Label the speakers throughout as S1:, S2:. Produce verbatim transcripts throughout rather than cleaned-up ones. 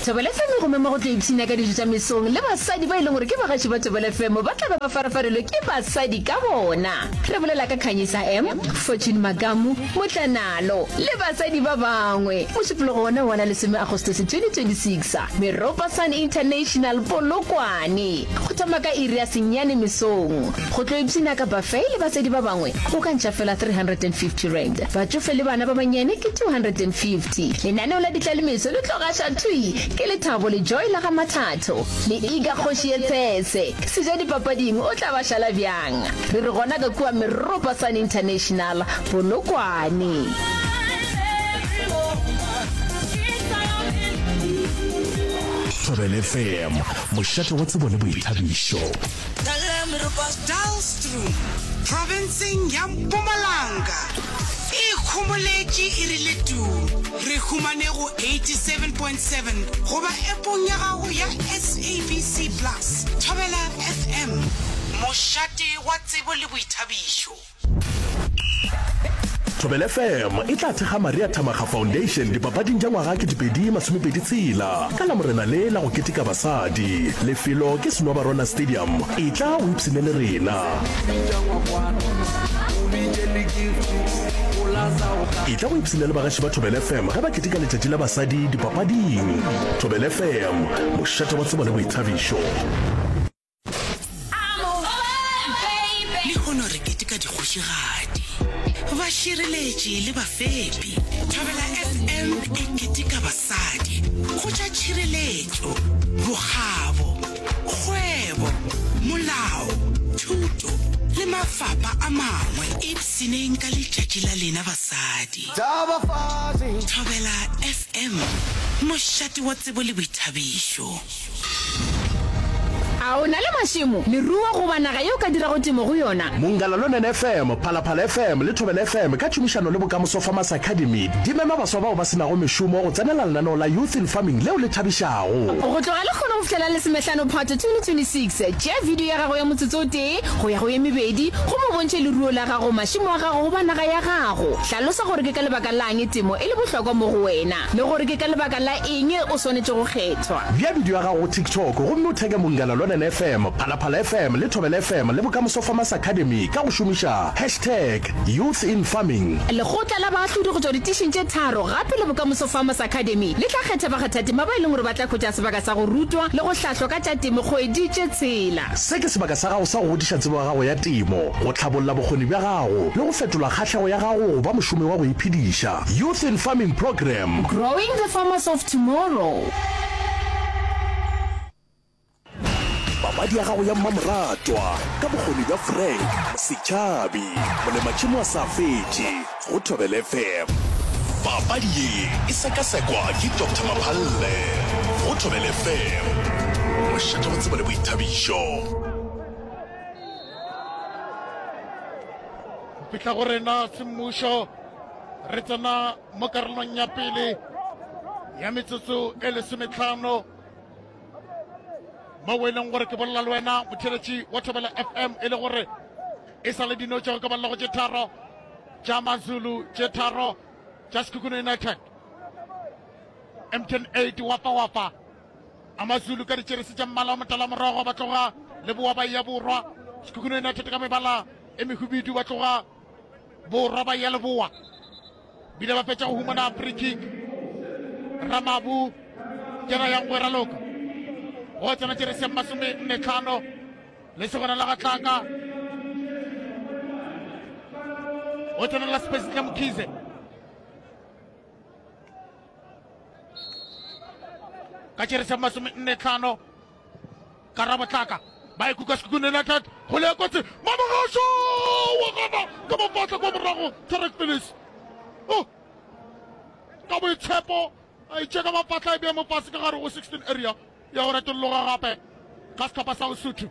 S1: Thobela F M e go mema go tlo ipshina ka dijo tša mesong le basadi ba e leng gore ke bagaši ba Thobela F M ba tla be ba farafarelwe ke basadi ka bona. Re bolela ka Khanyisa M, Fortune Makamu, Motlanalo le basadi ba bangwe. Mošupologo wona wa la lesome Agostose twenty twenty-six, Meropa Sun International Polokwane. Go thoma ka iri ya senyane mesong. Go tlo ipshina ka buffet le basadi ba bangwe o ka ntšha fela three hundred and fifty rand. Batšofe le bana ba bannyane ke two hundred and fifty. Lenaneo la ditlalemeso le tlo gaša thwi ke Lethabo le Joy la ga Mathatho le Iga Kgoši ye Tshese. Seja dipapading o tla ba šala bjang? Re re gona ka kua Meropa Sun International Polokwane.
S2: Thobela F M, mošate wa tsebo le boithabišo.
S3: Dullstroom, provinceng ya Mpumalanga. E kgomoletše e rile tuu. Re humane go eighty-seven point seven goba appong ya gago ya S A B C Plus. Thobela F M, mošate wa tsebo le boithabišo.
S2: Thobela F M e tla thekga Maria Thamaga Foundation dipapading tša ngwaga ketepedi masomepedi tshela ka Lamorena le la go keteka basadi. Lefelo ke Senwabarwana Stadium. E tla o ipshine le rena. E tla go ipshine le bagaši ba Thobela F M ge ba keteka letšatši la basadi dipapading. Thobela F M, mošate wa tsebo le boithabišo.
S3: Lehono re keteka dikgošigadi, bašireletši le bafepi. Thobela F M e keteka basadi go tša tšhireletšo, bokgabo, kgwebo, molao, thuto le mafapa a mangwe. Ipshineng ka letšatši la lena basadi. Thobela F M, mošate wa tsebo le boithabišo.
S1: A o na le mašemo, leruo goba naga yeo ka dirago temo go yona?
S2: Mongala Lonene F M, Phalaphala F M le Thobela F M ka tšhomišano le Bokamoso Farmers Academy di mema baswa bao ba se nago mešomo go tsenela lenaneo la Youth in Farming leo le thabišago.
S1: Go tloga lekgono go fihlela lesomehlano Phato twenty twenty-six, tšea video ya gago ya motsotso o tee go ya go ye mebedi gomme o bontšhe leruo la gago, mašemo a gago goba naga ya gago. Hlalosa gore ke ka lebaka lang temo e le bohlokwa mo go wena le gore ke ka lebaka la eng o swanetše go kgethwa.
S2: Bea video ya gago go TikTok gomme o theke Mongala Lonene F M, Phalaphala F M le Thobela F M le Bokamoso Farmers Academy ka go šomiša hashtag Youth in Farming.
S1: Lekgotla la baahlodi go tšwa ditišing tše tharo gape le Bokamoso Farmers Academy le tla kgetha bakgathatema ba e leng gore ba tla hwetša sebaka sa go rutwa le go hlahlwa ka tša temo kgwedi tše tshela.
S2: Se ke sebaka sa gago sa go godiša tsebo ya gago ya temo, go tlhabolla bokgoni bja gago le go fetola kgahlego ya gago go ba mošomi wa go iphediša. Youth in Farming Program.
S1: Growing the farmers of tomorrow.
S2: Papadi ya gago ya mmamoratwa ka bokgoni bja Frank Setšhabi, molematšhemo a sa fetše go Thobela F M. Papadi ye e sekasekwa ke Doctor Maphalle go Thobela F M, mošate wa tsebo le boithabišo.
S4: Fihla go rena semmušo, re tsena mo karolong ya pele ya metsotso e lesometlhano mo e leng gore ke bolela le wena motheletši wa Thobela F M e le gore e sa le dino tša go ka balela go tše tharo tša Mazulu, tše tharo tša Sekhukhune United. M T N eight wafa wafa Amazulu ka ditšerese tša mmala wa motala morogo ba tloga leboa ba ya borwa. Sekhukhune United ka mebala e mehubidu ba tloga borwa ba ya leboa. Bile ba fetša go humana free kick. Ramabu kena yang go raloka. Go tsena tšerese ya masome nne tlhano le segona la Gatlaka. O tsena la Space la Mkhize. Ka tšerese ya masome nne tlhano Karabo Tlaka ba ikuka Sekhukhune United go le kotsi Mamogasho wa gana ka mafatla kwa morago Tarek Phillips. Oh, ka boitshepo a itše ka mafatla e bea mo fase ka gare go sixteen area ya go retolloga gape ka sehlopha sa Lesotho.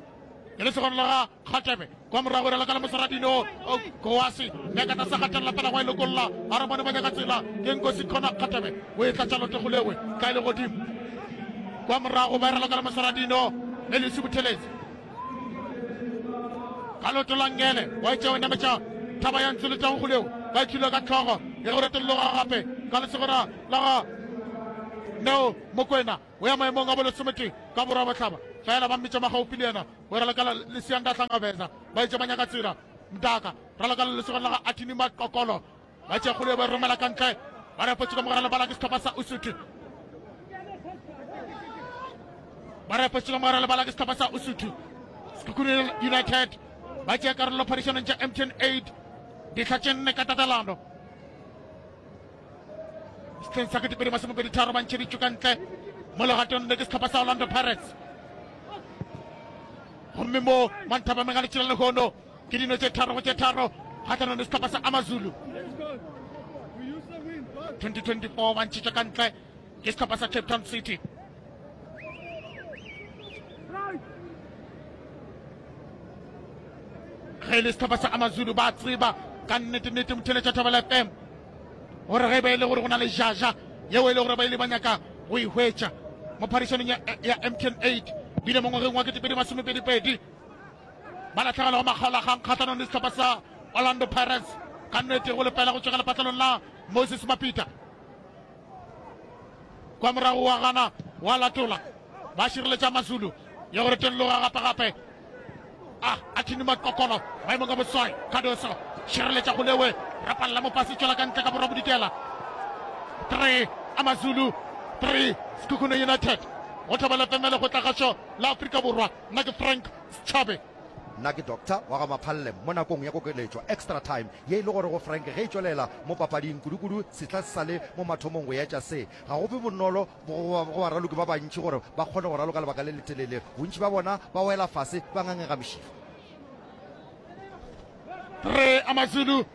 S4: Ke le segona la ga Kgatebe kwa morago re laka le Mosaradino Koasi nyaka tlase gatelela pela go e lokolla a re bone ba nyaka tsela ke Nkosi Khona Kgatebe o e tlatša loto go lewe tla e le godimo kwa morago ba e raloka le Mosaradino Elisi Buthelezi ka loto la ngele wa etša o nametša thaba ya ntse le tau go lewe ba ithula ka tlhogo ya go retolloga gape ka lesegona la ga Neo Mokwena o ya maemong a bolesometee ka borwa bohlaba, fela ba mmitša magaufi le yena o raloka le Siyanda Hlangabeza, ba itše ba nyaka tsela. Mdaka raloka le lesogana la ga Athini Maqokolo, ba tšea kgolo ba e romela ka ntle, ba repotše ka mogare lebala ke sehlopha sa Usuthu. Ba repotše ka mogare lebala ke sehlopha sa Usuthu. Sekhukhune United ba tšea karolo phadišanong tša M T N eight dihla tše nne ka tatelano. Sehleng sa ketepedi masomepedi tharo ba ntšheditšwe ka ntle mo legatong le ke sehlopha sa Orlando Pirates. Gomme mo manthapameng a letšela lehono ke dino tše tharo go tše tharo kgahlanong le sehlopha sa Amazulu. twenty twenty-four ba ntšhitšwe ka ntle ke sehlopha sa Cape Town City. Ge e le sehlopha sa Amazulu ba tseba ka nnete-nnete motheletša Thobela F M gore ge e ba e le gore go na le jaja yeo e le gore ba ile ba nyaka go e hwetša mo phadišanong ya, ya M T N eight bile mo ngwageng wa ketepedi masomepedi-pedi ba lahlegelwa go makgaolakgang kgahlanong le sehlopha sa Orlando Pirates ka nnete go lefela go tšwa ka lepatlelong la Moses Mapita. Kwa morago wa gana wa latola ba šireletša Mazulu ya gore teng loga gape gape a a thini Maqokolo maemong a boswai Cardoso šireletša golewe rapalla mopasi tšwela ka ntle ka borwa bodikela. Three Amazulu three Sekhukhune United go Thobela F M le kgotlagašo la Afrika Borwa. Nna ke Frank Setšhabe.
S5: Nna ke Doctor wa ga Maphalle mo nakong ya kokeletšo, extra time, ye e le gore go Frank ge e tšwelela mo papading, kudukudu sehla se sa le mo mathomong go etša se. Ga go be bonolo go go baraloki ba bantši gore ba kgone go raloka lebaka le letelele. Bontši ba bona ba wela fase ba ngangega mešifa.
S4: Three Amazulu,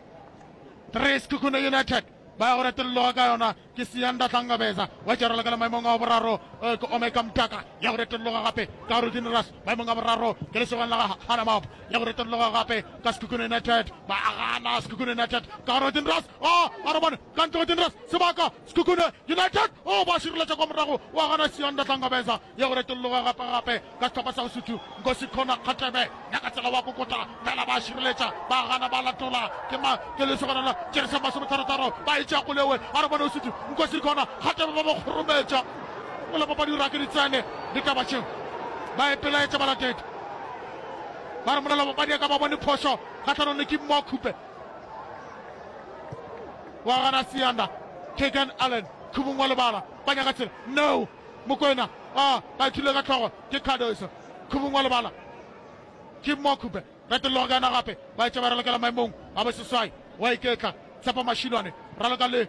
S4: three Sekhukhune United ba ya go retolloga ka yona ke Siyanda Hlangabeza wa tšerela ka le maemong a boraro ke Omega Mtaka ya go retolloga gape ka Rudin Ras maemong a boraro ke lesogana la ga Hanamap ya go retolloga gape ka Sekhukhune United ba agana Sekhukhune United ka Rudin Ras a a re bone ka ntle Rudin Ras sebaka Sekhukhune United o ba šireletša kwa morago wa gana Siyanda Hlangabeza ya go retolloga gape gape ka sehlopha sa Usuthu Nkosi Khona Kgatebe nyaka tsela wa kokota fela ba šireletša ba gana ba latola ke ma ke lesogana la Jeresa masometharotaro ba e tšea golewe a re bone Usuthu Nkosi Khona Kgatebe ba ba kgorometša mola papadi o rake ditsene ditaba tšeo ba ipelaetša balatedi ba re molela papadi ya ka ba bone phošo kgahlanong le ke Mokhupe wa gana Siyanda Kegan Allen khubung wa lebala ba nyaka tsela no Mokwena a ba ithule ka tlhogo ke Cardoso khubung wa lebala ke Mokhupe retologa ka yona gape ba etša ba ralokela maemong a boseswai wa iketla Tshepo Mashilwane raloka le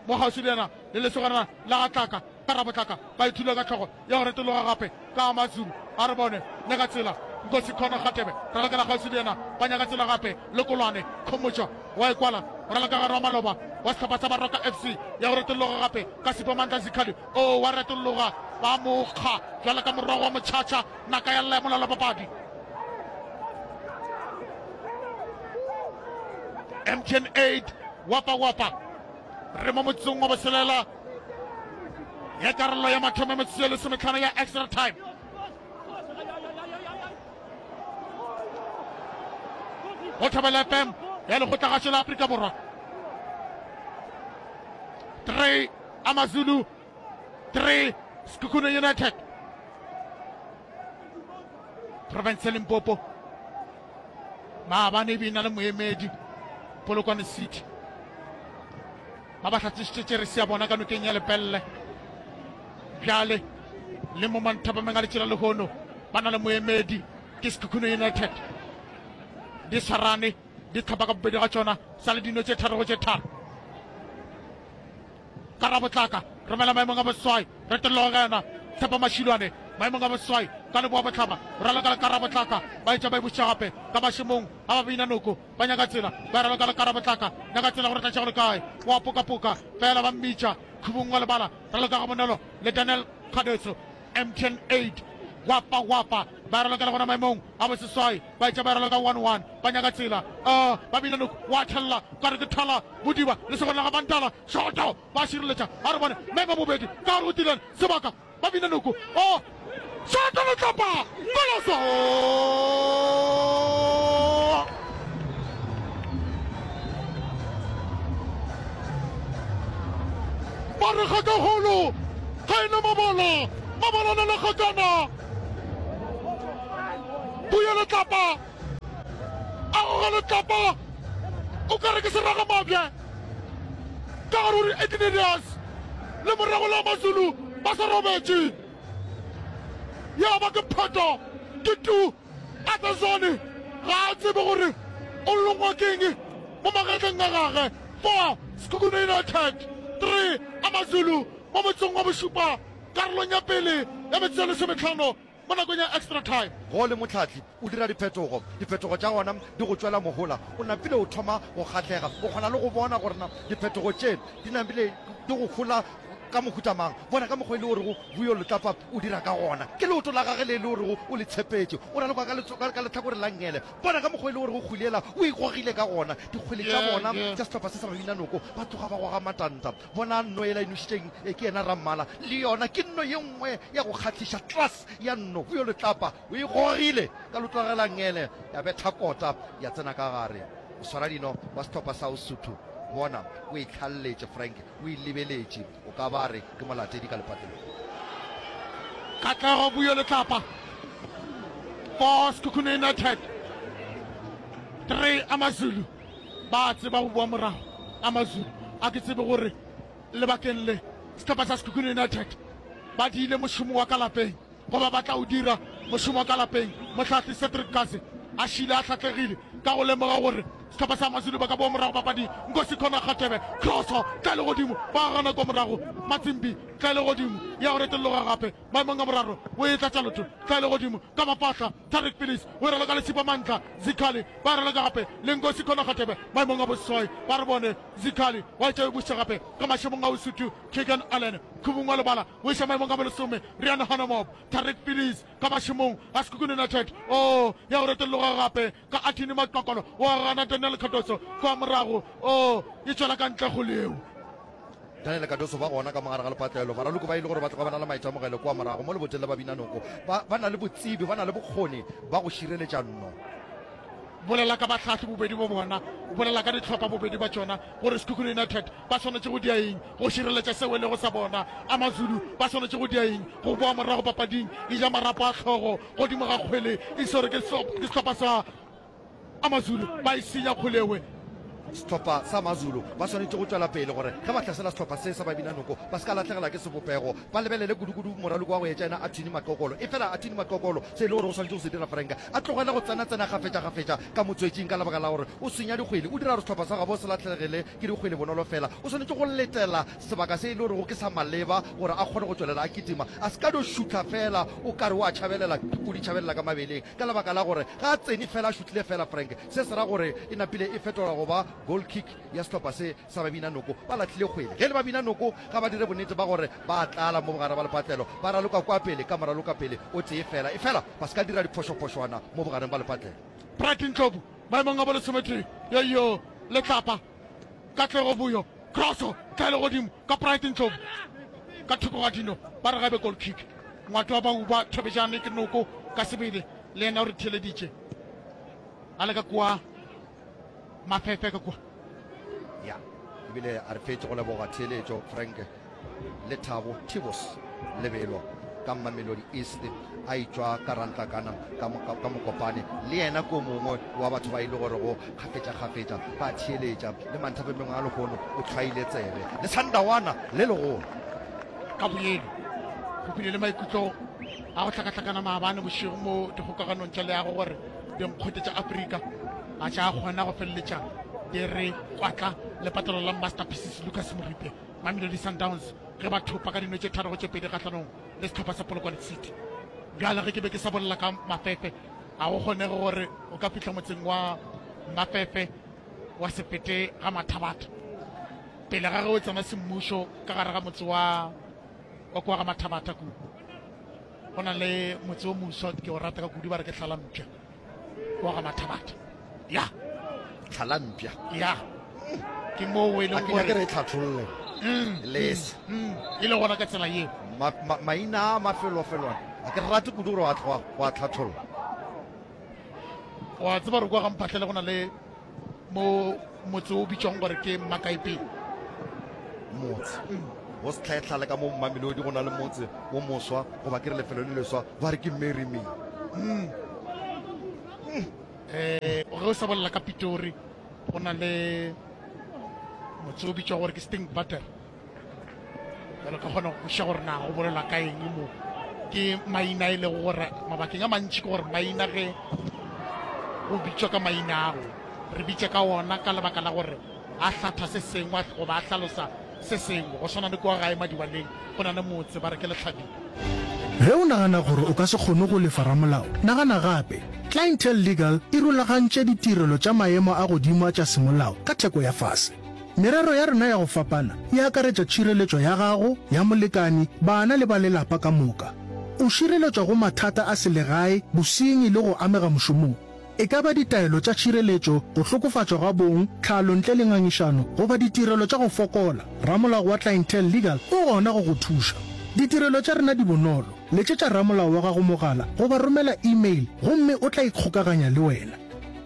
S4: mo kgauswi le yena le lesogana la ga Tlaka ka Rabotlaka ba ithule ka tlhogo ya go retologa gape ka Amazulu a re bone nyaka tsela Nkosi Khona Kgatebe ralokela kgauswi le yena ba nyaka tsela gape Lekolwane Khomotšo wa ikwala raloka gare wa maloba wa sehlopha sa Baroka F C ya go retologa gape ka Sipho Mandla Zikhali o wa retologa ba mokga jwalo ka morogo wa motšhatšha naka ya lla ya molala papadi. M T N eight wapa wapa re mo motsong wa boselela ya karolo ya mathomo metsotso ye lesometlhano ya extra time. Go Thobela F M ya lekgotlagašo la Afrika Borwa. Three Amazulu, three Sekhukhune United. Province ya Limpopo maabane e be e na le moemedi Polokwane City ba ba hlatsešitše tšeresi ya bona ka nokeng ya Lepelle. Bjale le mo manthapameng a letšela lehono ba na le moemedi ke Sekhukhune United. Di swarane di tlhapa ka bobedi ga tšona sa le dino tše tharo go tše tharo. Ka Rabotlaka romela maemong a boswai retologa ka yona Tshepo Mashilwane maemong a boswai ka leboa bohlaba raloka le Karabotlaka ba etša ba e buša gape ka mašemong a ba bina noko ba nyaka tsela ba raloka le Karabotlaka nyaka tsela gore tlatša go le kae wa pokapoka fela ba mmitša khubung wa lebala raloka ga bonolo le Daniel Cardoso M T N eight wapa wapa ba raloka le gona maemong a boseswai ba etša ba raloka one one ba nyaka tsela uh, ba bina noko wa thella ka re ke thala bodiba le segona ga bantala shoto ba šireletša a re bone mema bobedi ka gore o tileng sebaka ba bina noko o shoto letlapa koloso ba re kgakagolo Ga e na Mabola, Mabola na le kgakana. Buya letlapa, a goga letlapa, o ka re ke seraga mabje. Ka gare o re Ignatius le morago la Mazulu ba sa robetše. Ya ba ke photo, ke tu. Arthur Zwane ga a tsebe gore o longwa keng mo magetleng a gage. Four, Sekhukhune United, three, AmaZulu mo motsong wa bošupa karolong ya pele ya metsotso e lesometlhano mo nakong ya extra time.
S5: Ge o le mohlahli, o dira diphetogo. Diphetogo tša gona di go tšwela mohola. O napile o thoma go kgahlega. O kgona le go bona gore na diphetogo tše di napile di go hola ka mohuta mang. Bona ka mokgwa e le orego Vuyo Letlapa o dira ka gona. Ke leoto la gage le e le orego o le tshepetše. O raloka ka, ka, ka lehlakore la nngele. Bona ka mokgwa e le orego kgwele yela o e gogile ka gona. Dikgwele tša bona tša sehlopha se sa Babinanoko ba tloga ba goga matanta. Bona nno yela e nošitšeng e ke yena Rammala. Le yona ke nno ye nngwe ya go kgahliša, class ya nno. Vuyo Letlapa o e gogile ka leoto la gage la nngele, ya betha kota ya tsena ka gare. O swara dino wa sehlopha sa Usuthu. Bona o e hlalletše Frank, o e lebeletše. O ka ba re ke molatedi ka lepatlelong.
S4: Katlego Vuyo Letlapa, four Sekhukhune United, three AmaZulu. Ba tseba go boa morago AmaZulu. A ke tsebe gore lebakeng le sehlopha sa Sekhukhune United ba diile mošomo wa ka lapeng goba ba tla o dira mošomo wa ka lapeng. Mohlahli Cedric Kaze a šile a hlahlegile ka go lemoga gore sehlopha sa Amazulu ba ka boa morago papading. Nkosi Khona Kgatebe, kroso tla le godimo, ba gana kwa morago. Matsimbi tla le godimo, ya go retolloga gape maemong a boraro, o e tlatša lotho tla le godimo ka mafahla. Tarik Phillips o e raloka le Sipho Mandla Zikhali, ba raloka gape le Nkosi Khona Kgatebe maemong a boseswai. Ba re bone Zikhali wa etša e buša gape ka mašemong a Usuthu. Keegan Allen khubung wa lebala o iša maemong a bolesome. Riaan Hanamov, Tarik Phillips ka mašemong a Sekhukhune United. O ya go retolloga gape ka Athini Maqokolo, o a gana Daniel Cardoso kwa morago, o e tšwela ka ntle kgole yeo.
S5: Daniel Cardoso ba gona ka mogare ga lepatlelo. Baraloki ba e le gore ba tloga ba na le maitemogelo kua morago mo leboteng la Babinanoko. Ba, ba na le botsebi, ba na le bokgoni ba go šireletša nno.
S4: Bolela ka bahlahli bobedi bo bona, bolela ka dihlopha bobedi ba tšona gore Sekhukhune United ba swanetše go dia eng go šireletša seo e lego sa bona, AmaZulu ba swanetše go dia eng go boa morago papading e ja marapo a hlogo godimo ga kgwele e swerwe ke sehlopha sa AmaZulu ba e senya kgwele ewe.
S5: Sehlopha sa AmaZulu ba swanetše go tšwela pele gore ge ba hlasela sehlopha se sa Babinanoko ba se ka lahlegela ke sebopego, ba lebelele kudukudu moraloko wa go etša yena Athini Maqokolo. Efela Athini Maqokolo se e le gore o swanetše go se dira Frank a tlogele go tsenatsena kgafetšakgafetša ka motswetšing ka lebaka la gore o senya dikgwele, o dira gore sehlopha sa gabo se lahlegele ke dikgwele bonolo fela. O swanetše go letela sebaka se e le gorego ke sa maleba gore a kgone go tšwelela a kitima, a se ka no šutha fela o ka re o a tšhabelela dipudi tšhabelela ka mabeleng ka lebaka la gore ga a tsene fela a šuthile fela Frank. Se se ra gore e napile e fetola go ba goal kick ya sehlopha se sa Babinanoko. Ba lahlile kgwele. Ge e le Babinanoko ga ba dire bonnete ba gore ba a tlala mo bogare ba lepatlelo, ba raloka kua pele ka moralokapele o tee fela, efela ba se ka dira diphošophošwana mo bogareng ba lepatlelo.
S4: Bright Ndlovu maemong a bolesometee, Yoyo Letlapa, Katlego Vuyo, Kroso tla le godimo ka Bright Ndlovu ka thoko ga dino, ba re gabe goal kick. Ngwato wa Bauba Thobejane ke noko ka sebele, le yena o re theeleditše a le ka kua Mafefe ka kua.
S5: Ya, ebile a re fetše go leboga theeletšo Frank Lethabo Thibos Lebelo ka Mamelodi East a itšwa ka Rantlakana ka, ka, ka Mokopane le yena ko mongwe wa batho ba e le gore go kgafetša-kgafetša ba theeletša le manthapemeng a lehono o hlwaile tsebe le Sandawana le legolo.
S4: Ka boyeno go bile le maikutlo a go hlakahlakana maabane bošego mo dikgokaganong tša leago gore dinkgwete tša Afrika ga tša kgona go feleletša di re kwatla lepatelo la Masterpieces Lucas Moripe Mamelodi Sundowns ge ba thopa ka dino tše tharo go tše pedi kgahlanong le sehlopha sa Polokwane City. Bjale ge ke be ke sa bolela ka Mafefe, ga go kgonege gore o ka fihla motseng wa Mafefe wa se fete ga Mathabatha pele ga ge o tsena semmušo ka gare ga motse wa wa kua ga Mathabatha kua. Go na le motse o moswa ke o rata ka kudu ba re ke Hlalampša wa ga Mathabatha. Ya.
S5: Hlalampša.
S4: Ya. Ke moo e leng
S5: gore. Ke re e tlhatholle. Mm, Lese.
S4: Mm, e le gona ka tsela yeo.
S5: Ma, ma, maina a mafelofelwana a ke rate kudu gore wa tloga wa tlhatholla.
S4: Wa tseba gore kwa ga Mphahlele go na le mo motse o bitšwang gore ke Makaipeng.
S5: Motse.
S4: Mm.
S5: Go Setlhaetlhale ka mo Mamelodi go na le motse wo moswa, goba ke re lefelo le leswa, ba re ke Marry Me.
S4: Mm. Eh, ge o sa bolela ka Pitori, go na le motse o bitšwa gore ke Stinkwater. Jalo ka kgona go kwešiša gore na go bolelwa ka eng mo. Ke maina e lego gore mabakeng a mantši ke gore maina ge go bitšwa ka maina ago, re bitša ka ona ka lebaka la gore a hlatha se sengwe goba a hlalosa se sengwe. Go swana le kua gae Madibaleng go na le motse ba re ke Lehlabile.
S6: Ge o nagana gore o ka se kgone go lefa ramolao, nagana gape. Clientele Legal e rulagantše ditirelo tša maemo a godimo a tša semolao ka theko ya fase. Merero ya rena ya go fapana e akaretša tšhireletšo ya gago, ya molekani, bana le ba lelapa ka moka. O šireletšwa go mathata a selegae, bosenyi le go amega mošomong. E ka ba ditaelo tša tšhireletšo, go hlokofatšwa ga bong, tlhalo ntle le ngangišano, goba ditirelo tša go fokola, ramolao wa Clientele Legal o gona go go thuša. Ditirelo tša rena di bonolo, letšetša ramolao wa gago mogala goba romela email gomme o tla ikgokaganya le wena.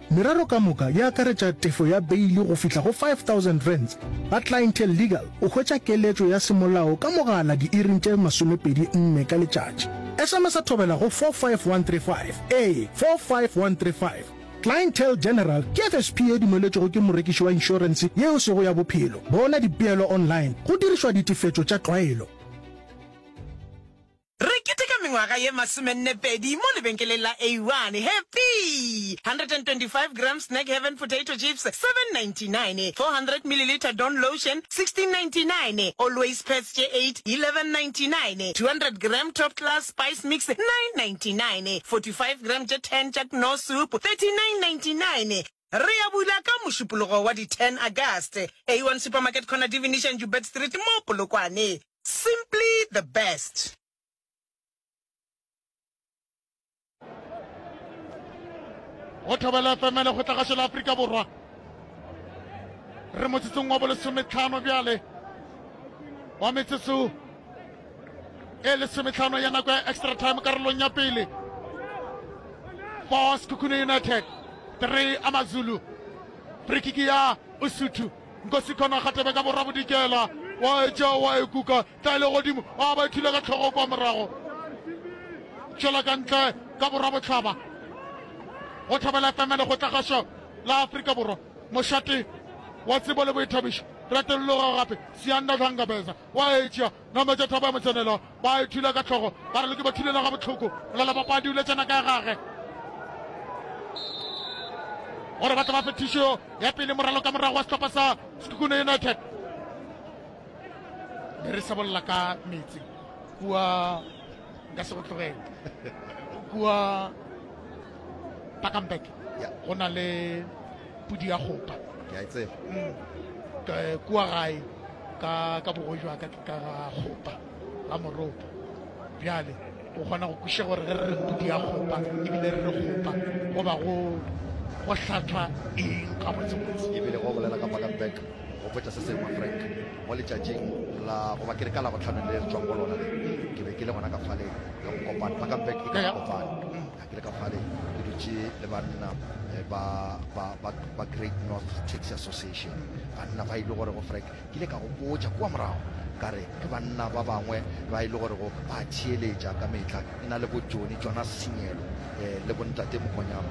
S6: Merero ka moka e akaretša tefo ya beili go fihla go five thousand rands. Ba Clientele Legal o hwetša keletšo ya semolao ka mogala diiring tše masomepedi nne ka letšatši. S M S Thobela go four five one three five, ee, four five one three five. Clientele General ke F S P ye dumeletšwego ke morekiši wa inšorense ye e sego ya bophelo. Bona dipeelo online go dirišwa ditefetšo tša tlwaelo.
S3: Re keteka mengwaga ye masomenne-pedi mo lebenkeleng la A one Happy! one hundred twenty-five gram Snack Heaven potato chips, seven ninety-nine, four hundred millilitre Dawn lotion, sixteen ninety-nine, Always pads tše eight, eleven ninety-nine, two hundred gram Top Class spice mix, nine ninety-nine, forty-five gram tše ten tša Knorr soup, thirty-nine ninety-nine. Re a bula ka Mošupologo wa di ten August. A one Supermarket corner Divination Joubert Street mo Polokwane. Simply the best.
S4: Go Thobela F M Lekgotlagašo la Afrika Borwa. Re motsotsong wa bolesometlhano bjale wa metsotso e lesometlhano ya nako ya extra time karolong ya pele. Four Sekhukhune United, three Amazulu. Free kick ya Usuthu. Nkosi Khona Kgatebe ka borwa bodikela. Wa etša wa e kuka tla e le godimo. A ba ithula ka tlhogo kwa morago. Tšwela ka ntle ka borwa bohlaba. Go Thobela F M Lekgotlagašo la Afrika Borwa. Mošate wa tsebo le boithabišo. Retolloga gape Siyanda Dlangabeza wa etša nametša thaba ya motsenelo. Ba ithula ka tlhogo ba re le ke ba thulela ga bohloko. Molala papadi o letšana ka gage gore ba tla ba fe thušo ya pele moralo ka morago wa sehlopha sa Sekhukhune United. Be re sa bolela ka metse kua, nka se go tlogele kua Pakambek go na le pudi ya kgopa.
S5: Ke a e tseba.
S4: Mm. Ka- kua gae ka ka bogoji wa ka ke ka ga kgopa ga moropo. Bjale o kgona go kwešiša gore ge re re pudi ya kgopa ebile re re kgopa goba go go hlathwa eng gabotsebotse.
S5: Ebile go bolela ka Pakambek go botša se sengwe Frank, mo letšatšing la goba ke re ka Labohlano le re tšwang go lona le, ke be ke le gona ka fale ka Mokopane. Pakambek e ka Mokopane. Ke le ka fale ke dutše le banna eh, ba, ba, ba, ba Great North Taxi Association. Banna ba e le gore go Frank, ke ile ka go botša kua morago ka re ke banna ba bangwe ba e le gore go ba theeletša ka mehla, e na le bo Johnny Jonas Senyelo eh, le bontate Mokonyama.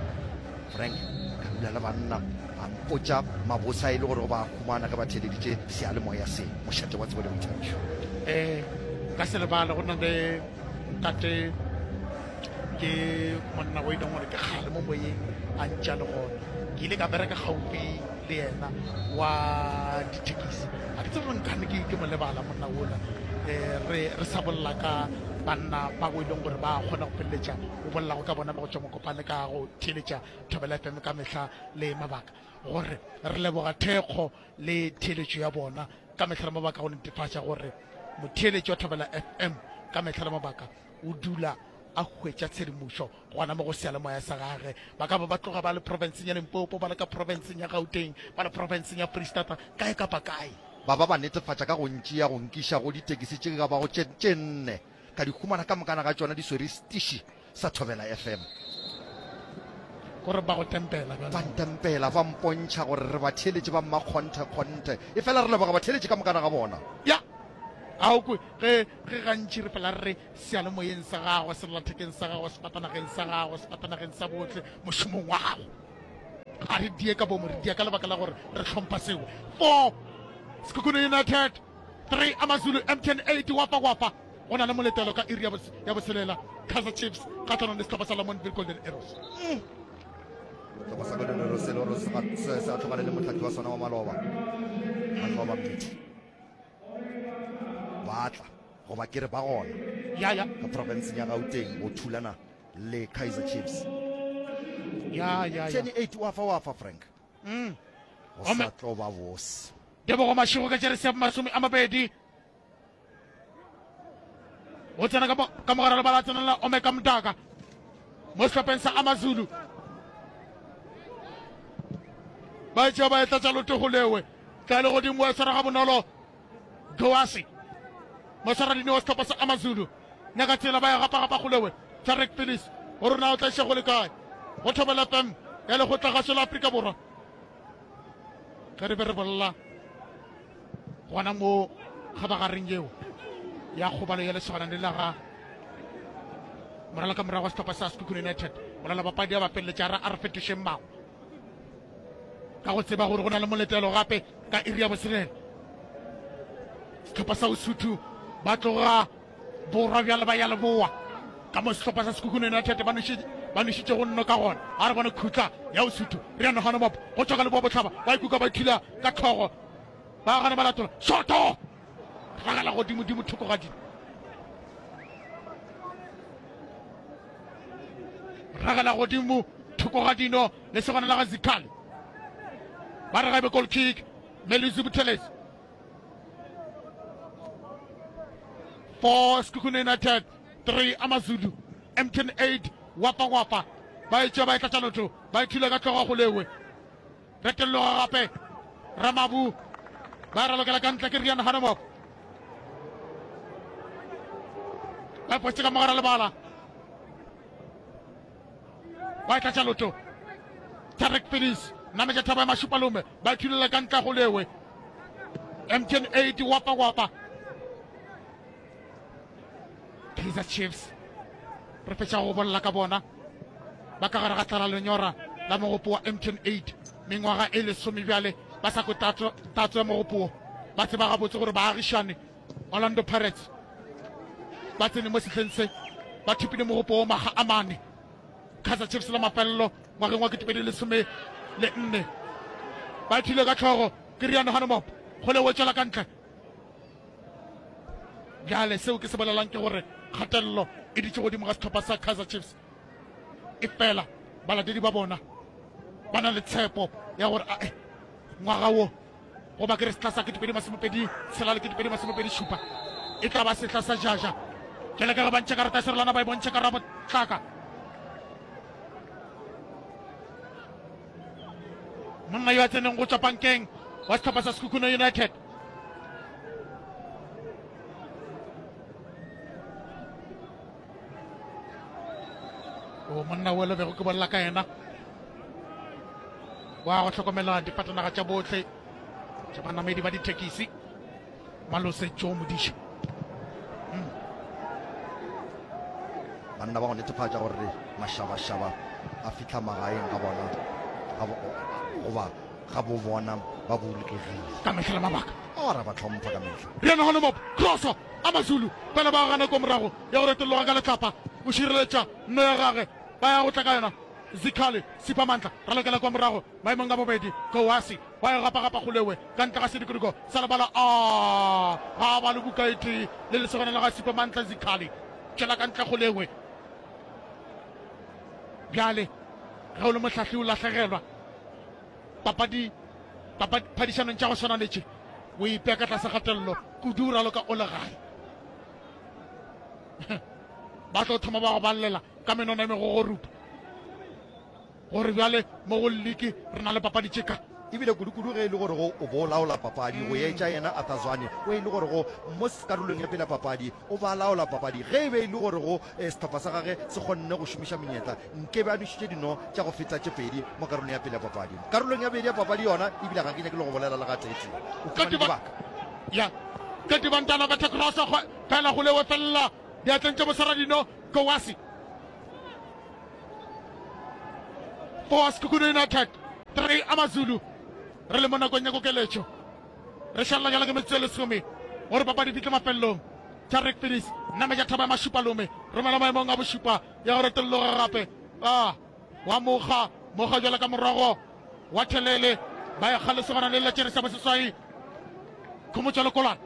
S5: Frank, ka dula le banna ba mpotša mabose a e le gore go ba humana ge ba theeleditše seyalemoya se, mošate wa tsebo le boithabišo.
S4: Eh, ka se lebale go na le ntate ke monna o e leng gore ke kgale mo moyeng a ntša le gona. Ke ile ka bereka gaufi le yena wa dithekisi. Ga ke tsebe gore nkane ke, ke mo lebala monna ola. Eh, re, re sa bolela ka banna ba go e leng gore ba kgona go feleletša o bolelago ka bona ba go tšwa Mokopane ka go theeletša Thobela F M ka mehla le mabaka, gore re leboga thekgo le theeletšo ya bona ka mehla le mabaka go netefatša gore motheeletši wa Thobela F M ka mehla le mabaka o dula a hwetša tshedimošo gona mo go seyalemoya sa gage. Ba ka ba ba tloga ba le profenseng ya Limpopo, ba le ka profenseng ya Gauteng, ba le profenseng ya Freistata, kae kapa kae.
S5: Ba ba ba netefatša ka go ntšea go nkiša go ditekisi tše ka bago tše, tše nne, ka di humana ka mokana ga tšona di swere setiši sa Thobela F M.
S4: Gore ba go tempela bjalo.
S5: Ba ntempela, ba mpontšha gore re batheeletši ba mmakgonthe-kgonthe. Efela re leboga batheeletši ka mokana ga bona.
S4: Ya, A o kwe ge ge gantši re fela re re seyalemoyeng sa gago, sellathekeng sa gago, sefatanageng sa gago, sefatanageng sa bohle, mošomong wa gago. Ga re die ka bomo, re dia ka lebaka la gore re hlompha seo. Four, Sekhukhune United, three, AmaZulu, M T N eight, Wafa Wafa. Go na le moletelo ka iri ya botshelela, Kaizer Chiefs kgahlanong le sehlopha sa Lamontville Golden Arrows.
S5: Sehlopha sa Golden Arrows se le gore se se atlogane le mohlahli wa sona wa maloba, Manqoba Mngqithi. Ba tla goba ke re ba gona
S4: Ya, ya.
S5: ka profenseng ya Gauteng go thulana le Kaizer Chiefs.
S4: Ya, ya, ya.
S5: M T N eight wa fa wa fa Frank.
S4: Mm.
S5: Go sa tlo ba bose.
S4: Tebogo Mashego ka jeresi ya masome a mabedi. O tsena ka mogare lebala tsenela Omeka Mdaka mo sehlopheng sa AmaZulu. Ba etšea ba etla tša loto go lewe. Tla le godimo wa swara ga bonolo Goasi. Moswaradini wa sehlopha sa AmaZulu. Nyaka tsela ba ya gapa gapa go lewe. Tarek Phillips o rona o tla iša go le kae. Go Thobela F M ya lekgotlagašo la Afrika Borwa. Ge re be re bolela gona mo kgabagareng yeo ya kgobalo ya lesogana le la ga morala ka morago wa sehlopha sa Sekhukhune United, molela bapadi a ba feleletša ra a re fetošeng mangwe ka go tseba gore go na le moletelo gape ka iri ya botshelela. Sehlopha sa Usuthu ba tloga borwa bjale ba ya leboa ka mo sehlopha sa Sekhukhune United ba ba nošitše go nno ka gona. A re bone khutla ya Usuthu re ya nogano mopo go tšwa ka leboa bohlaba ba ikuka ba thula ka tlhogo ba gana ba latola shoto ragela godimo-dimo thoko ga dino ragela godimo thoko ga dino le segona la ga Zikhali ba re gabe goal kick Melusi Buthelezi four Sekhukhune United three AmaZulu M T N eight wapa wapa ba etšea ba etla tša lotho ba ithula ka tloga go lewe retelloga gape Ramabu ba ralokela ka ntle ke Rian Hanemop ba fotse ka mogara lebala ba etla tša lotho Tarek Phillips nametša thaba ya Mašupalome ba ithulela ka ntle go lewe M T N eight wapa wapa Kaizer Chiefs re fetša go bolela ka bona ba ka gare ga tlala lenyora la mogopo wa M T N eight mengwaga e lesome bjale ba sa kwe tatso tatso ya mogopo wo. Ba tseba gabotse gore baagišane Orlando Pirates ba tsene mo sehleng se ba thopile mogopo wo makga a mane. Kaizer Chiefs la mafelelo ngwageng wa ketepedi lesome le nne ba ithile ka tlhogo ke Rian Hanemop go le wetšela ka ntle. Bjale seo ke se bolelang ke gore kgatelelo e ditše godimo ga sehlopha sa Kaizer Chiefs e fela balatedi ba bona ba na le tshepo ya gore ae ngwaga wo goba ke re sehla sa ketepedi masomepedi tshela le ketepedi masomepedi šupa e tla ba sehla sa jaja. Bjale ka ge ba ntšha karata ya serolwana ba e bontšha ka rabotlaka monna yo a tseneng go tšwa pankeng wa sehlopha sa Sekhukhune United o monna o le bego ke bolela ka yena wa go hlokomela difatanaga tša bohle tša banamedi ba dithekisi Malose Joe Modiša. Mm.
S5: Banna ba go netefatša gore mašabašaba a fihla magaeng ga bona goba ga bo bona ba bolokegile.
S4: Ka mehla le mabaka.
S5: O ra ba hlompha ka mehla.
S4: Riana Honomop, crosso, AmaZulu fela ba gana ko morago ya go retologa ka letlapa o šireletša nno ya gage ba ya go tla ka yona Zikhali Siphamandla ralokela kwa morago maemong a bobedi Kowasi ba e gapa-gapa golewe ka ntle ga sedikodiko sa lebala a ga ba le buka e tee le lesogana la ga Siphamandla Zikhali tšwela ka ntle golewe bjale ge o le mohlahli o lahlegelwa papadi papadi phadišanong tša go swana le tše o ipea ka tlase kgatelelo kudu o raloka o le gae ba tlo thoma ba go balela ka menwana e megogorupa gore bjale mo go liki re na le papadi tše ka
S5: ebile kudu-kudu ge e le gore go o bo laola papadi go etša yena Arthur Zwane o e le gore go mo karolong ya pele ya papadi o ba laola papadi ge e be e le gore go eh, sehlopha sa gage se kgonne go šomiša menyetla nke be a nošitše dino tša go feta tše pedi mo karolong ya pele ya papadi. Karolong ya bobedi ya papadi yona ebile ga ke nyake le go bolela le gateetee o fumane dibaka
S4: ya Keti Bantana betha cross fela go lewe felela diatleng tša Mosaradino Kowasi. Four Sekhukhune United, three Amazulu. Re le mo nakong ya kokeletšo. Re šalela jalo ke metsotso e lesome gore papadi fihle mafelelong. Tarek Finis nametša thaba ya Mašupalome, romela maemong a bošupa ya go retolloga gape. Ah, wa mokga, mokga jalo ka morogo wa thelele, ba ekga lesogana le la tšere sa boseswai. Khomotšo Lekolwane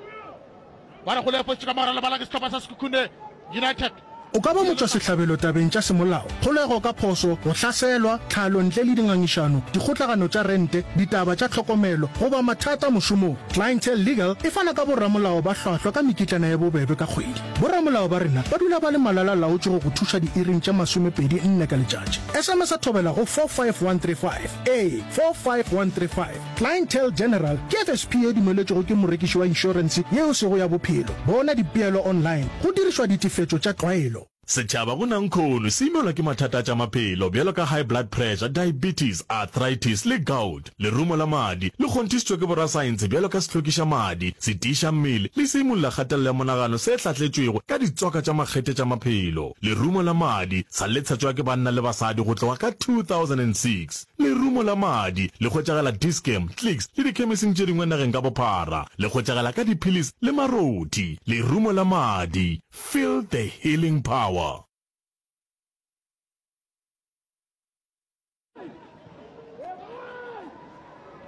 S4: ba re go le fotše ka mogare lebala ke sehlopha sa Sekhukhune United.
S6: O ka ba motšwasehlabelo tabeng tša semolao, kgolego ka phoso, go hlaselwa, tlhalo ntle le dingangišano, dikgotlagano tša rente, ditaba tša tlhokomelo, goba mathata mošomong. Clientele Legal e fana ka boramolao ba hlwahlwa ka mekitlana ye bobebe ka kgwedi. Boramolao ba rena ba dula ba le malala-laotšwe go go thuša diiring tše masomepedi nne ka letšatši. S M S Thobela go four five one three five. Ee, four five one three five. Clientele General ke F S P ye dumeletšwego ke morekiši wa inšorense yeo sego ya bophelo. Bona dipeelo online go dirišwa ditefetšo tša tlwaelo.
S7: Setšhaba go nankhono se imelwa ke mathata a tša maphelo bjalo ka high blood pressure, diabetes, arthritis le gout. Lerumo la madi le kgonthišitšwe ke borasaense bjalo ka sehlokiša madi, setiiša mmele le seimolla kgatelelo ya monagano se hlahletšwego ka ditswaka tša makgethe tša maphelo. Lerumo la madi sa le tshetšwa ke banna le basadi go tloga ka two thousand and six Lerumo la madi le hwetšagala Dis-Chem, Clicks le dikhemising tše dingwe nageng ka bophara. Le hwetšagala ka diphilisi le marothi. Lerumo la madi, feel the healing power.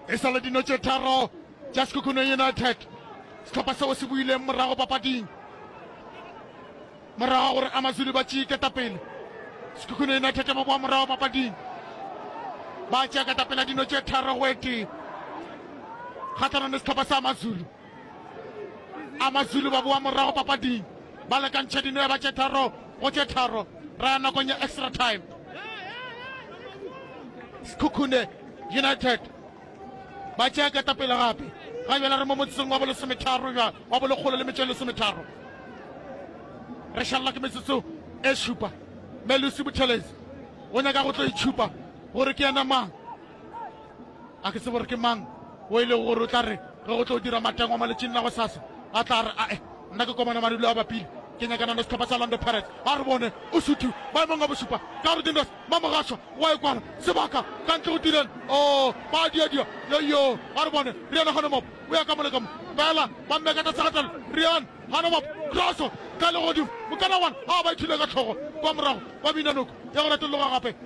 S4: E sa le dino tše tharo tša Sekhukhune United, sehlopha seo se boileng morago papading morago ga gore Amazulu ba tšee ketapele. Sekhukhune United ba boa morago papading, ba tšea ketapele ya dino tše tharo go e tee kgahlanong le sehlopha sa Amazulu. Amazulu ba boa morago papading, ba lekantšha dino ya ba tše tharo go tše tharo. Ra ya nakong ya extra time. Sekhukhune United ba tšea ketapele gape. Ga bjale re mo motsotsong wa bolesometharo bja wa bolekgolo le metšo e lesometharo. Re šalela ke metsotso e šupa. Melusi Buthelezi o nyaka go tlo itšhupa gore ke yena mang. A ke tsebe gore ke mang o e lego gore o tla re ge go tlo dira matengwa mo letšing la gosasa a tla re, Ae, nna ke komana madulo a bapile, ke nyakana le sehlopha sa Orlando Pirates. A re bone o suthu maemong a bošupa ka gore Dindos Mamogašwa wa e kwala sebaka ka ntle go Dylan. Oh, ba a diadia, yo-yo, a re bone Rian Hanomop o ya ka mo le ka mo, fela ba mmeka tlase ga tlalo. Rian Hanomop, kroso ka legodimo, mokana one a ba ithule ka hlogo kwa morago, ba bina noko ya go retologa gape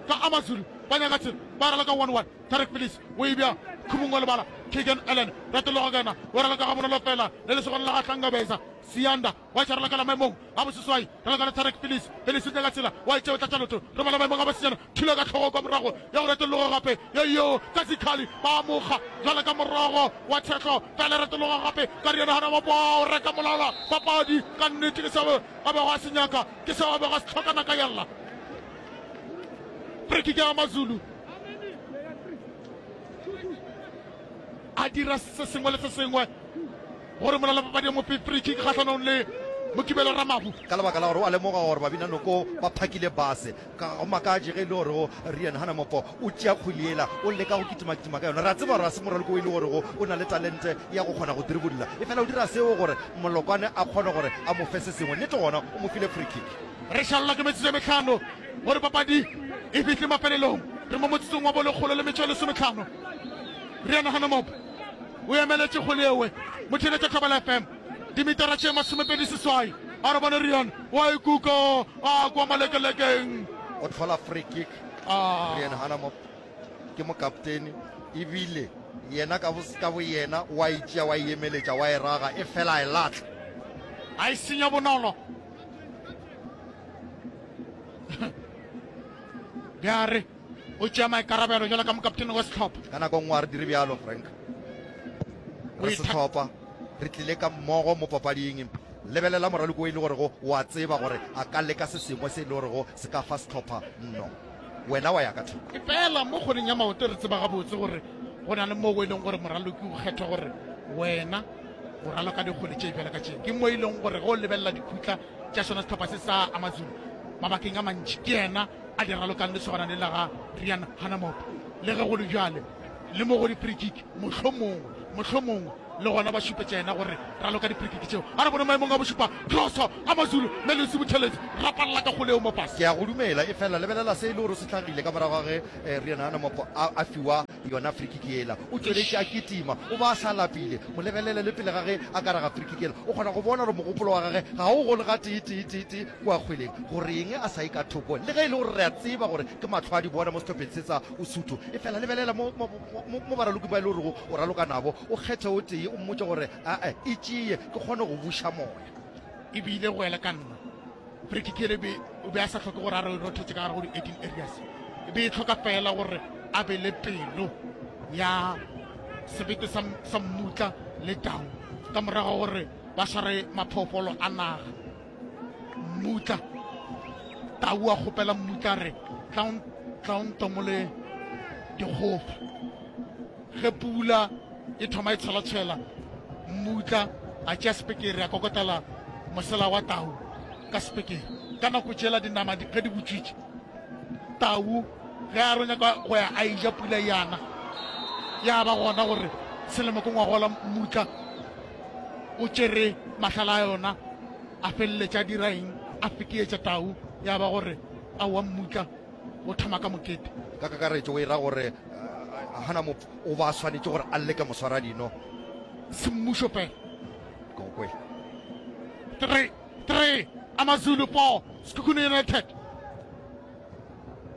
S4: ka Amazulu. Ba nyaka tsela, ba raloka one one. Tarek Phillips o e bea khumong wa lebala. Keegan Allen retologa ka yena, o raloka gabonolo fela le lesogana la ga Hlangabeza. Siyanda wa tša ralokela maemong a boseswai, raloka le Tarek Phillips. Phillips o nyaka tsela, wa e tšea o tlatša leoto, romela maemong a bosenyana, thula ka hlogo kwa morago ya go retologa gape. Yo ka Zikhali ba mo kga jwale ka morogo wa tshehlo, fela retologa gape ka Riana Hanamabo, o reka molala papadi. Ka nnete ke seo a bego a se nyaka, ke seo a bego a se hloka naka yalla. Free kick ya Amazulu a dira se sengwe le se sengwe gore molala papadi ya mope free kick kgahlanong le Mokibelo Ramabu.
S5: Ka lebaka la gore o a lemoga gore Babinanoko ba phakile base, ka go makatše ge e le gore go Rian Hanamopo o tšea kgwele yela o leka go kitimakitima ka yona. Re a tseba gore ga se moraloko o e le gorego o na le talente ya go kgona go dribbla, efela o dira seo gore Molokwane a kgone gore a mo fe se sengwe. Nnete gona o mo file free kick.
S4: Re šalelwa ke metsotso e mehlano gore papadi e fihle mafelelong. Re mo motsotsong wa bolekgolo le metšo e lesomehlano. Rian Hanomop o emeletše kgwele ewe. Motheeletša Thobela F M dimitara tše masomepedi seswai. A re bone Rian o a ikuka a kwa malekelekeng.
S5: O hlola free kick.
S4: Ah.
S5: Rian Hanomop ke mokaptene ebile yena ka ka boyena wa e tšea wa e emeletša wa e raga e fela a e lahla.
S4: A e senya bonolo. Bjare o tšea maikarabelo jalo ka mokaptene wa sehlopha.
S5: Ka nako nngwe a re dire bjalo, Frank. Re sehlopha, re tlile ka mmogo mo papading. Lebelela moraloko o e le gorego o a tseba gore a ka leka se sengwe se e le gorego se ka fa sehlopha nno. Wena wa ya ka thoko.
S4: Efela mo kgweleng ya maoto re tseba gabotse gore go na le moo e leng gore moraloki o kgethwa gore wena o raloka dikgwele tše bjalo ka tše. Ke mo e leng gore ge o lebelela dikhutla tša sona sehlopha se sa Amazulu mabakeng a mantši ke yena a di ralokang lesogana le la ga Rian Hanamop. Le ge go le bjale le mo go di-free kick mohlomongwe mohlomongwe Le gona ba šupetša yena gore raloka diprikiki tšeo. A re bone maemong a bošupa, Kroso, Amazulu, Melusi Buthelezi, rapalala ka kgole eo mo fase.
S5: Ke a go dumela, efela lebelela se e le gore se hlagile ka morago ga ge Riaan Hanamop a, a fiwa yona frikiki yela. O tšweletše a kitima, o ba a sa lapile. Mo lebelele le pele ga ge a ka raga frikiki yela. O kgona go bona gore mogopolo wa gage ga o gole gatee tee tee tee kua kgweleng. Gore eng a sa ye ka thoko, le ge e le gore re a tseba gore ke mahlo a di bona mo sehlopheng se sa Usuthu. Efela lebelela mo, mo, mo, mo baraloki ba e le gorego o raloka nabo, o kgethe o tee, o mmotše gore, Ae, e tšee, ke kgone go buša moya.
S4: E bile go ela ka nna. Frikiki yela e be, o be a sa hloke gore a re rothetše ka gare go di-eighteen areas. E be e hloka fela gore a be le pelo ya sebete sa, sa mmutla le tau ka morago gore ba sware maphoofolo a naga. Mmutla, tau a kgopela mmutla a re, Tla o, tla o ntomole dikgofa. Ge pula e thoma e tshwelatshwela, mmutla a tšea sepekere a kokotela mosela wa tau ka sepekere. Ka nako tšela dinama ge di butšwitše, tau ge a re o nyaka go ya a eja pula e ana. Ya ba gona gore selemo ke ngwagola mmutla o tšere mahlala a yona a feleletša a dira eng, a fekeetša tau. Ya ba gore aowa mmutla o thoma ka mokete.
S5: Ka kakaretšo o e ra gore Hanamop o ba swanetše gore a leke moswaradino.
S4: Semmušo fela.
S5: Ke go kwele.
S4: Three, three, Amazulu four, Sekhukhune United.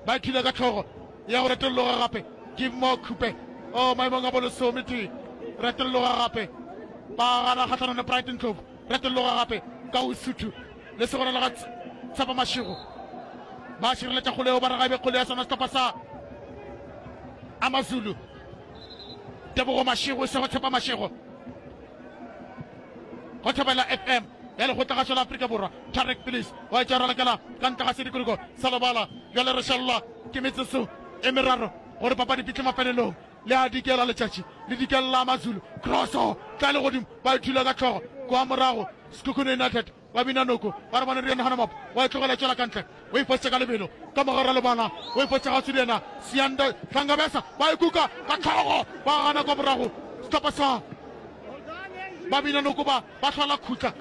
S4: Ba ithula ka tlhogo ya go retolloga gape. Give more Khupe. Oh, maemong a bolesometee. Retolloga gape. Ba gana kgahlanong le Brighton Ndlovu. Retolloga gape ka Usuthu. Le segona la ga Tshepo Mashego. Ba šireletša kgole eo ba re ga e be kgole ya sona sehlopha sa Amazulu. Tebogo Mashego e sego Tshepo Mashego. Go Thobela F M ya Lekgotlagašo la Afrika Borwa, Tarek Phillips wa etša ralokela ka ntle ga sedikologo sa lebala. Bjale re šalelwa ke metsotso e meraro gore papadi fihle mafelelong. Le a dikela letšatši le dikelela Amazulu. Kroso tla le godimo ba ithula ka hlogo kwa morago. Sekhukhune United ba bina noko ba re bone Rian Hanamap wa e tlogela e tšwela ka ntle. O e fositše ka lebelo ka mogare wa lebala, o e fositše kgauswi le yena Siyanda Hlangabesa, ba e kuka ka hlogo ba gana kwa morago. Sehlopha sa ba bina noko ba ba hlola khutla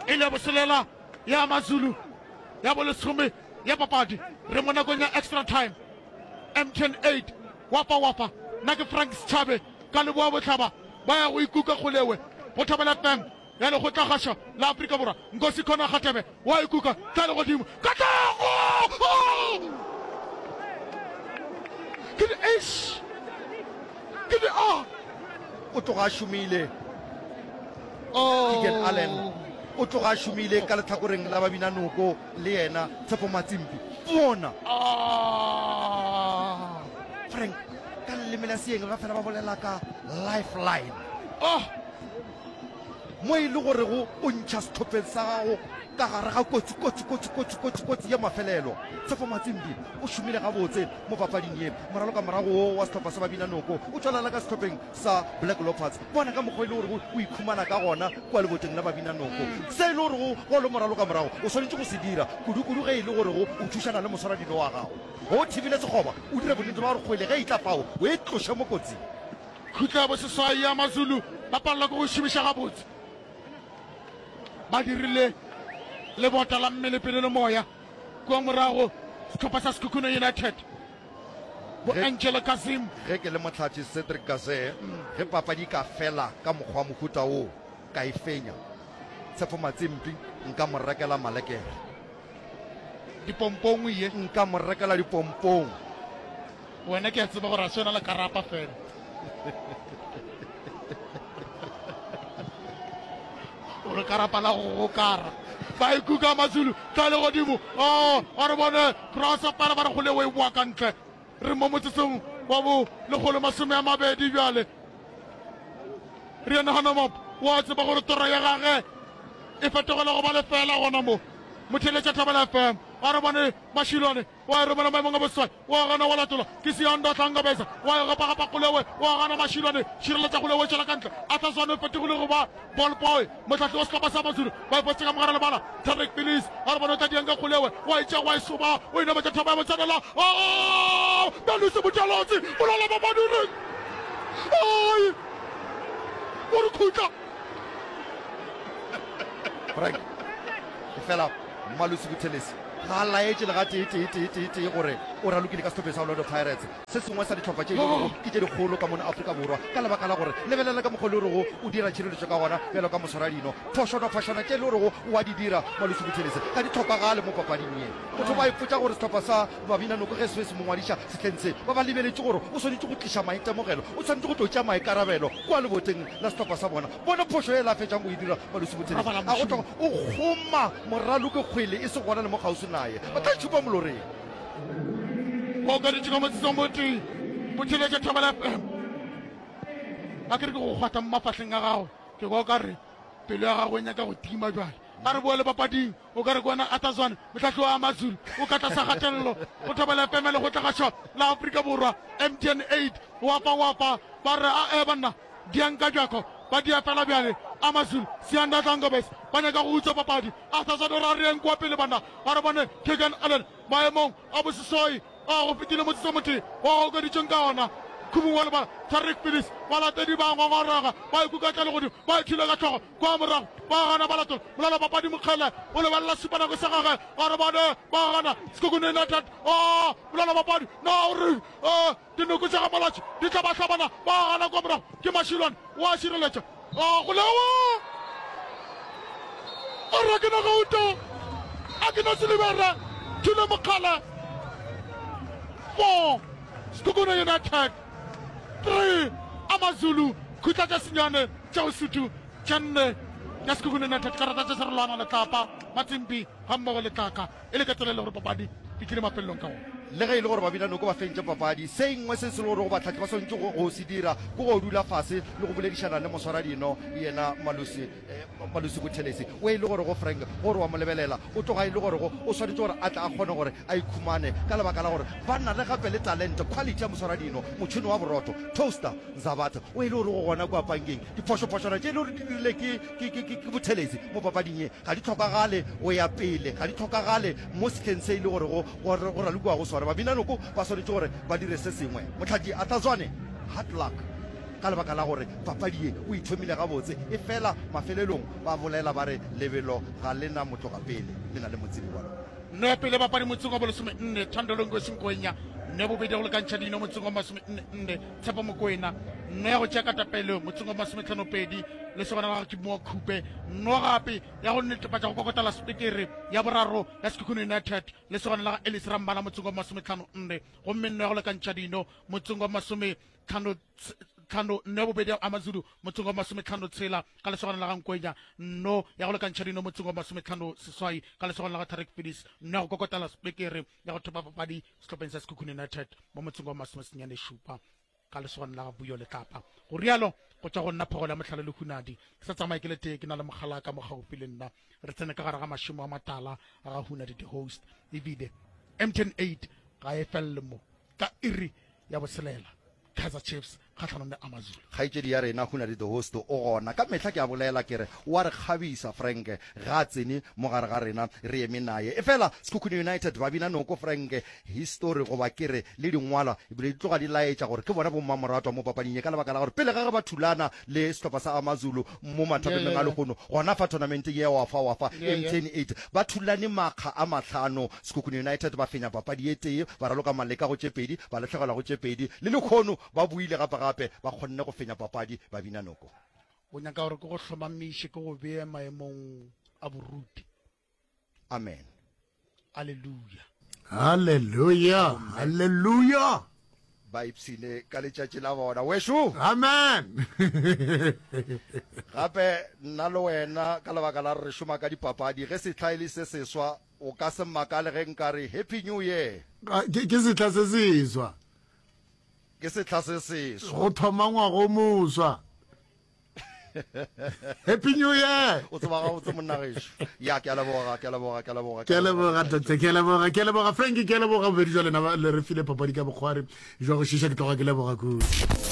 S4: e le ya boselela ya Amazulu ya bolesome ya papadi. Re mo nakong ya extra time. M T N eight wafa wafa nna ke Frank Setshabe ka Leboa Bohlaba ba ya go ikuka kgolewe go Thobela F M ya Lekgotlakgašo la Afrika Borwa. Nkosi Khona Kgatebe wa ikuka tla legodimo Katlego ke di eish ke di a
S5: O tloga a šomile Keegan Allen o tloga a šomile ka lehlakoreng la Babinanoko le yena Tshepo Matsimpi. Bona Frank ka leleme la seeng ba fela ba bolela ka lifeline.
S4: Oh
S5: mo e le gorego o ntšha sehlopheng sa gago ka gare ga kotsi kotsi kotsi kotsi kotsi kotsi ya mafelelo. Tshepo Matsimbi o šomile gabotse mo papading ye. Moraloka morago wo wa sehlopha sa Babinanoko o tšwelela ka sehlopheng sa Black Leopards. Bona ka mokgwa e le gorego o ikhumana ka gona kua leboteng la Babinanoko. Se e le gorego ge o le moraloka morago o swanetše go se dira, kudukudu ge e le gorego o thušana le moswaradino wa gago. Ge o thibile sekgoba, o dire bonnete bja gore kgwele ge e tla fao o e tloše mo kotsing.
S4: Khutlo ya boseswai ya Mazulu ba palelwa ke go šomiša gabotse. Ba dirile lebota la mmele pele le moya kua morago sehlopha sa Sekhukhune United. Bo Angelo Kazim.
S5: Ge ke le mohlatši Cedric Kaze, ge papadi e ka fela ka mokgwa wa mohuta wo, ka e fenya, Tshepo Matsimpi nka mo rekela malekere.
S4: Dipompong ye.
S5: Nka mo rekela dipompong.
S4: Wena ke a tseba gore a se wena le karapa fela. O re karapa la go gokara. Ba ikuka Mazulu tla le godimo. Oh, a re bone cross fela ba re kgole o e boa ka ntle. Re mo motsotsong wa bo lekgolo masome a mabedi bjale. Rian Hanamop wa tseba gore tora ya gage e fetogela go ba lefela gona mo. Motheeletša Thobela F M. A re bone Mashilwane wa e romela maemong a boseswai, wa gana wa latola ke Siyanda Hlangabeza, wa e gapagapa Kgolewe, wa gana Mashilwane, šireletša Kgolewe tšwela ka ntle, Arthur Zwane o fetogile go ba ball boy, mohlahli wa sehlopha sa Mazulu, ba e fositše ka mogare lebala, Tariq Bilis, a re bone o tla diang ka Kgolewe, wa e tšea wa e soba, o e nametša thaba ya botsenela, oh, Melusi Buthelezi, bolala ba Madireng, ai! O re khutla.
S5: Frank, efela Malusi Buthelezi ga a laetše le gatee tee tee tee tee gore o ralokile ka sehlopheng sa Orlando Pirates, se sengwe sa dihlopha tše e lego ke tše dikgolo ka mono Afrika Borwa, ka lebaka la gore lebelela ka mokgwa o le gorego o dira tšhireletšo ka gona bjalo ka moswaradino. Phošonophošwana tše e le gorego o a di dira Malusi Buthelezi ga di hlokagale mo papading ye. Motho ba ipotša gore sehlopha sa Babinanoko ge se be se mo ngwadiša sehleng se, ba ba lebeletše gore o swanetše go tliša maitemogelo, o swanetše go tlo tšea maikarabelo kua leboteng la sehlopha sa bona. Bona phošo ye la fetšang go e dira Malusi Buthelezi. A go tloga o kgoma moraloki kgwele e se gona le mo kgauswi naye. Ba tla itšhupa moloreng.
S4: Ba okeditše ka motsotsong o tee. Buthelezi Thobela F M. A ke re ke go kgwatha mo mafahleng a gago, ke kwa o ka re pelo ya gago e nyaka go tima bjale. A re boele papading. O ka re ke wena Arthur Zwane, mohlahli wa AmaZulu, o ka tlasa kgatelelo go Thobela F M ya Lekgotlakgašo la Afrika Borwa, M T N eight. Wapa wapa, ba re a-e banna, diang ka bjako, ba dia fela bjale. AmaZulu, Siyanda Dlangobes, ba nyaka go utswa papadi. Arthur Zwane o re a re yeng kua pele banna, a re bone Keagan Allen maemong a boseswai a go fetile motsotso motee wa go okeditšweng ka ona. Khubung wa lebala, Tariq Phillips, balatedi ba ngongorega, ba ikuka tla legodimo, ba ithula ka hlogo. Kwa morago ba gana ba latola molala papadi Mokgele o lebelela šupanako sa gagwe a re bane ba gana Sekhukhune United a molala papadi na o re eh, dinoko tša ga Malatši di tla ba hlabana ba gana kwa morago ke Mashilwane wa šireletša a go lewa a re ke na gauta a ke na silibere Thule Mokgele four Sekhukhune United three Amazulu khutla tša senyane tša Usuthu tše nne ya Sekhukhune United karata tša Serolwana Letlapa Matsimbi gammogo le Tlaka e le ka tsela e le gore papadi e tlile mafelelong ka gona.
S5: Le ge e le gore Babinanoko ba fentše papadi, se engwe se se le gorego bahlahli ba swanetše go go se dira ke go dula fase le go boledišana le moswaradino yena Malusi Malusi Buthelezi o e le gorego Frank gore wa mo lebelela o tloga e le gorego o swanetše gore a tle a kgone gore a ikhumane ka lebaka la gore ba na le gape le talente, quality ya moswaradino, motšhene wa borotho, toaster, Nzabatha o e le gore go gona kua pankeng. Diphošophošwana tše e le gore di dirile ke, ke, ke, ke, ke Buthelezi mo papading ye ga di hlokagale go ya pele, ga di hlokagale mo sehleng se e le gorego go, go ralokiwa go sona. Babinanoko ba swanetše gore ba dire se sengwe. Mohlaki Arthur Zwane, hard luck ka lebaka la gore papadi ye o e thomile gabotse, efela mafelelong ba bolela ba re lebelo ga le na motlogapele, le na le motsebi wa lona.
S4: Nno ya pele bapadi motseng wa bolesome-nne, Thando Longosi Nkwenya. Nno ya bobedi ya go lekantšha dino motseng wa masome-nne-nne, Tshepo Mokoena. Nno ya go tšea katapele motseng wa masometlhano-pedi, Lesogana la gagwe ke Moa Khupe. Nno gape ya go netefatša go kokotela sepekere ya boraro ya Sekhukhune United, Lesogana la ga Ellis Rambala motseng wa masometlhano-nne. Gomme nno ya go lekantšha dino motseng wa masometlhano tlhano nno ya bobedi ya Amazulu motseng wa masometlhano tshela ka lesogana la ga Nkwenya. Nno ya go lekantšha dino motseng wa masometlhano seswai ka lesogana la ga Tarek Phillips. Nno ya go kokotela sepekere ya go thopa papadi sehlopheng sa Sekhukhune United mo motseng wa masomesenyane šupa ka lesogana la ga Vuyo Letlapa. Go rialo go tšwa go nna Phogolo ya Mohlale le Hunadi. Ke sa tsamaye ke le tee, ke na le mokgalaka mo gaufi le nna. Re tsene ka gare ga mašemo a matala a ga Hunadi the host. Ebile M T N eight ga e felele mo ka iri ya botshelela. Kaizer Chiefs kgahlanong le AmaZulu.
S5: Kgaetšedi ya rena Hunadi the host o gona. Ka mehla ke a bolela ke re o a re kgabisa Frank ga a tsene mo gare ga rena re eme naye. Efela Sekhukhune United ba bina noko Frank history goba ke re le dingwalwa ebile di tloga di laetša gore ke bona bommamoratwa mo papading ye ka lebaka la gore pele ga ge ba thulana le sehlopha sa AmaZulu mo mathapemeng a lehono gona fa tournamenteng ye ya Wafa Wafa M T N eight ba thulane makga a mahlano Sekhukhune United ba fenya papadi ye tee, ba raloka maleka go tše pedi, ba lahlegelwa go tše pedi. Le lehono ba boile gape-gape, ba kgonne go fenya papadi, ba bina noko.
S4: O nyaka gore ke go hlomamiše, ke go bee maemong a boruti.
S5: Amen.
S4: Aleluya.
S8: Haleluya. Haleluya.
S5: Ba ipshine ka letšatši la bona. Wešo!
S8: Amen.
S5: Gape nna le wena, ka lebaka la gore re šoma ka dipapadi, ge sehla e le se seswa, o ka se makale ge nka re Happy New Year.
S8: Ke, ke sehla se seswa.
S5: Ke sehla se seswa.
S8: Go thoma ngwaga o moswa. Happy New Year.
S5: O tseba gabotse monna gešo. Ya, ke a leboga, ke a leboga, ke a leboga.
S8: Ke a leboga tate, ke a leboga, ke a leboga Frank, ke a leboga bobedi jwa lena le re file papadi ka bokgwari jwa go šiša, ke tloga ke leboga kudu.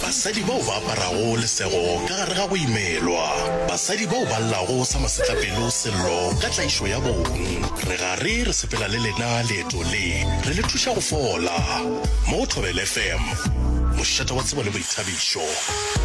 S2: Basadi bao ba aparago lesego ka gare ga go imelwa. Basadi bao ba llago sa masetlapelo sello ka tlaišo ya bong. Re gare re sepela le lena leeto le, re le thuša go fola. Mo go Thobela F M, mošate wa tsebo le boithabišo.